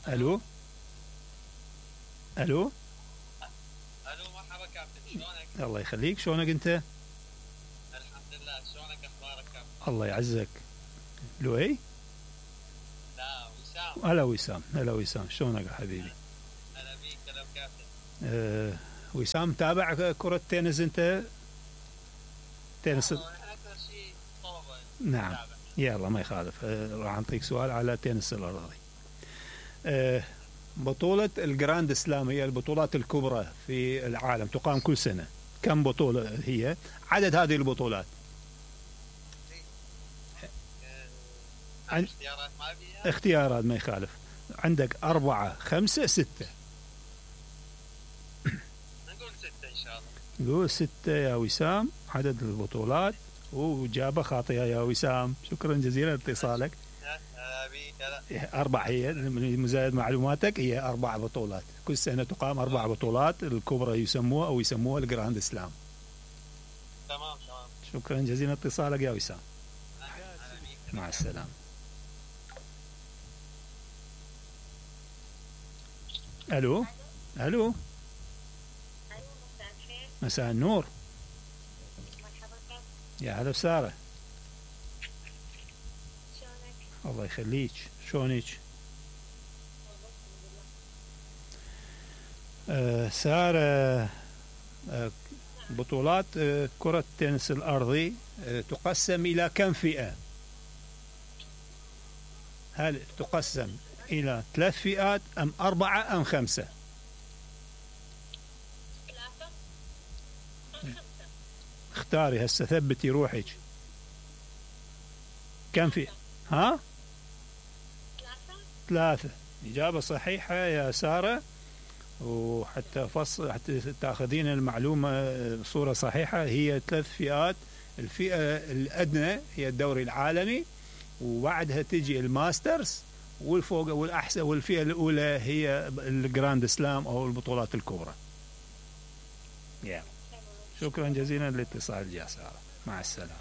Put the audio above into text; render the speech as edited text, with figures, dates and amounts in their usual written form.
الو الو. الو مرحبا كابتن، شلونك؟ الله يخليك، شلونك انت؟ الحمد لله، شلونك اخبارك كابتن؟ الله يعزك. لؤي؟ لا وسام. هلا وسام، هلا وسام، شلونك يا حبيبي؟ هلا بيك، هلا كابتن. وسام تابع كرة تنس انت؟ تنس اكثر شيء طوبه. نعم. تابع. يلا ما يخالف. راح اعطيك سؤال على تنس الارضي. بطولة الجراند سلام هي البطولات الكبرى في العالم، تقام كل سنة. كم بطولة هي؟ عدد هذه البطولات؟ اختيارات ما بيها؟ اختيارات ما يخالف. عندك 4 5 6. نقول 6 ان شاء الله. نقول 6 يا وسام عدد البطولات، وإجابة خاطئة يا وسام. شكرا جزيلا لاتصالك. هلا بيك، هلا. 4 هي مزايد معلوماتك، هي 4 بطولات كل سنة تقام. 4 بطولات الكبرى يسموها الجراند سلام. تمام تمام. شكرا جزيلا لاتصالك يا وسام. هلا بيك. مع السلامة. الو الو. مساء النور. يا هلا بسارة. الله يخليك، شلونك؟ سارة، بطولات كرة التنس الأرضي تقسم إلى كم فئة؟ هل تقسم إلى 3 فئات أم 4 أم 5؟ 3 أم 5. اختاري هسه، ثبتي روحك. كم فئة؟ ها؟ 3. إجابة صحيحة يا سارة. وحتى حتى تاخذين المعلومة بصورة صحيحة، هي 3 فئات. الفئة الأدنى هي الدوري العالمي، وبعدها تجي الماسترز، والفوق والأحسن، والفئة الأولى هي الجراند سلام أو البطولات الكبرى. شكرا جزيلا للاتصال يا سارة، مع السلامة.